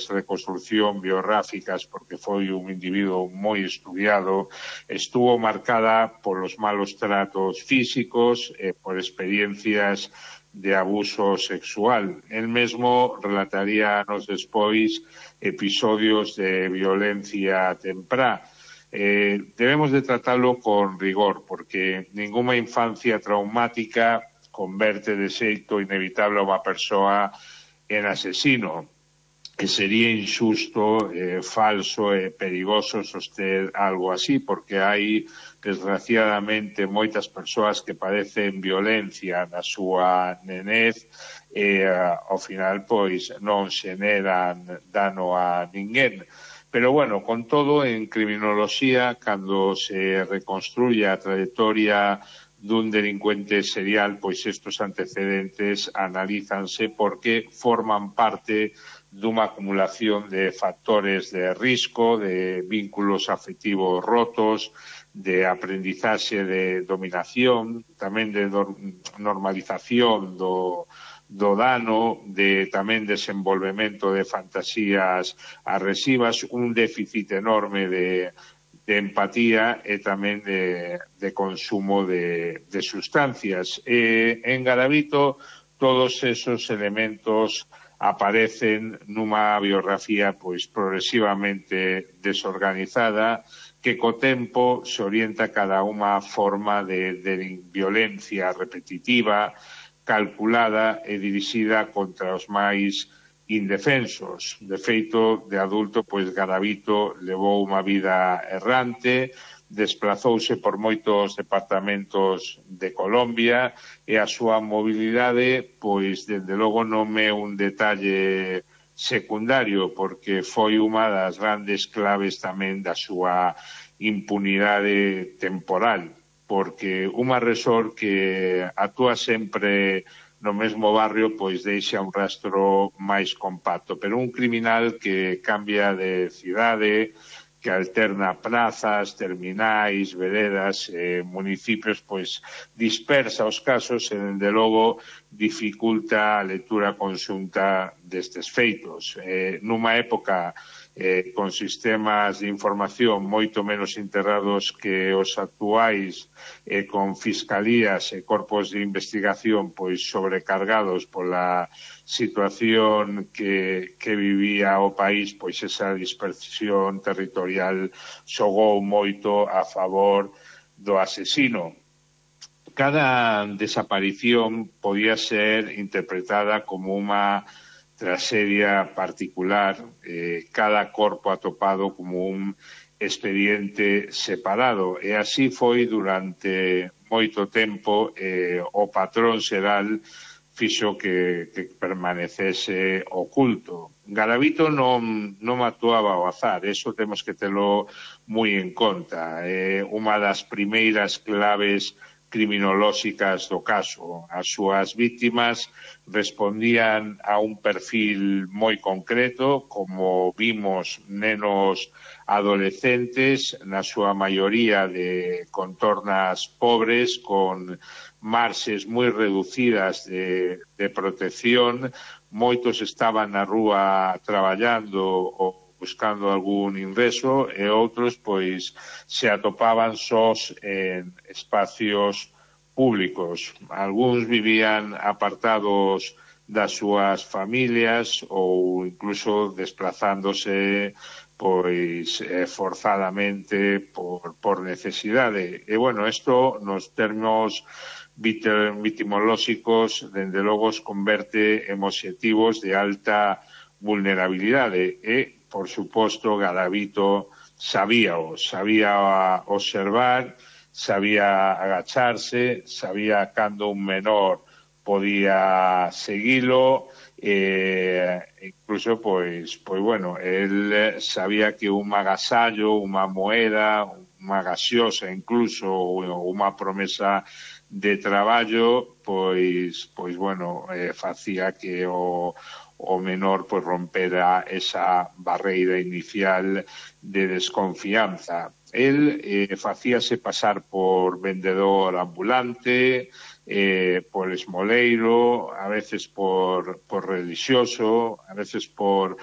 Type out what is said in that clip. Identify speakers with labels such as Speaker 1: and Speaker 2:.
Speaker 1: reconstrucción biográficas, porque foi un individuo moi estudiado, estuvo marcada polos malos tratos físicos e por experiencias de abuso sexual. El mesmo relataría anos despois episodios de violencia temprá. Debemos de tratarlo con rigor, porque ninguna infancia traumática converte de xeito inevitable a unha persoa en asesino. Que sería injusto, falso e perigoso soster algo así, porque hai, desgraciadamente, moitas persoas que padecen violencia na súa nenez e, ao final, pois, non xeneran dano a ninguén. Pero, bueno, con todo, en criminoloxía, cando se reconstruye a trayectoria dun delincuente serial, pois estos antecedentes analízanse porque forman parte dunha acumulación de factores de risco, de vínculos afectivos rotos, de aprendizaxe de dominación, tamén de normalización do dano, de tamén desenvolvemento de fantasías agresivas, un déficit enorme de empatía e tamén de consumo de sustancias. En Garavito todos esos elementos aparecen nunha biografía pois progresivamente desorganizada que co tempo se orienta cada unha forma de violencia repetitiva, calculada e dirixida contra os máis indefensos. De feito, de adulto, pois Garavito levou unha vida errante, desplazouse por moitos departamentos de Colombia e a súa mobilidade, pois, dende logo non é un detalle secundario, porque foi unha das grandes claves tamén da súa impunidade temporal, porque un agresor que actúa sempre no mesmo barrio, pois deixa un rastro máis compacto. Pero un criminal que cambia de cidade, que alterna plazas, terminais, veredas, municipios, pois dispersa os casos e, dende logo, dificulta a lectura conxunta destes feitos. Nunha época con sistemas de información moito menos integrados que os actuais, con fiscalías e corpos de investigación pois sobrecargados pola situación que vivía o país, pois esa dispersión territorial xogou moito a favor do asesino. Cada desaparición podía ser interpretada como unha traxedia particular, cada corpo atopado como un expediente separado, e así foi durante moito tempo. O patrón xeral fixo que permanecese oculto. Garavito non actuaba ao azar, eso temos que telo moi en conta. Unha das primeiras claves criminolóxicas do caso. As súas víctimas respondían a un perfil moi concreto, como vimos, nenos adolescentes, na súa maioría de contornas pobres, con marxes moi reducidas de protección. Moitos estaban na rúa traballando ou buscando algún ingreso e outros pois se atopaban sós en espacios públicos. Algúns vivían apartados das súas familias ou incluso desplazándose pois forzadamente por necesidade. E, bueno, isto nos termos vitimolóxicos, dende logo, os converte en obxectivos de alta vulnerabilidade e, por suposto, Garavito sabía observar, sabía agacharse, sabía cando un menor podía seguilo, incluso, pois, bueno, el sabía que un agasallo, unha moeda, unha gaseosa, incluso, unha promesa de traballo, pois, bueno, facía que o menor pois rompera esa barreira inicial de desconfianza. El facíase pasar por vendedor ambulante, por esmoleiro, a veces por relixioso, a veces por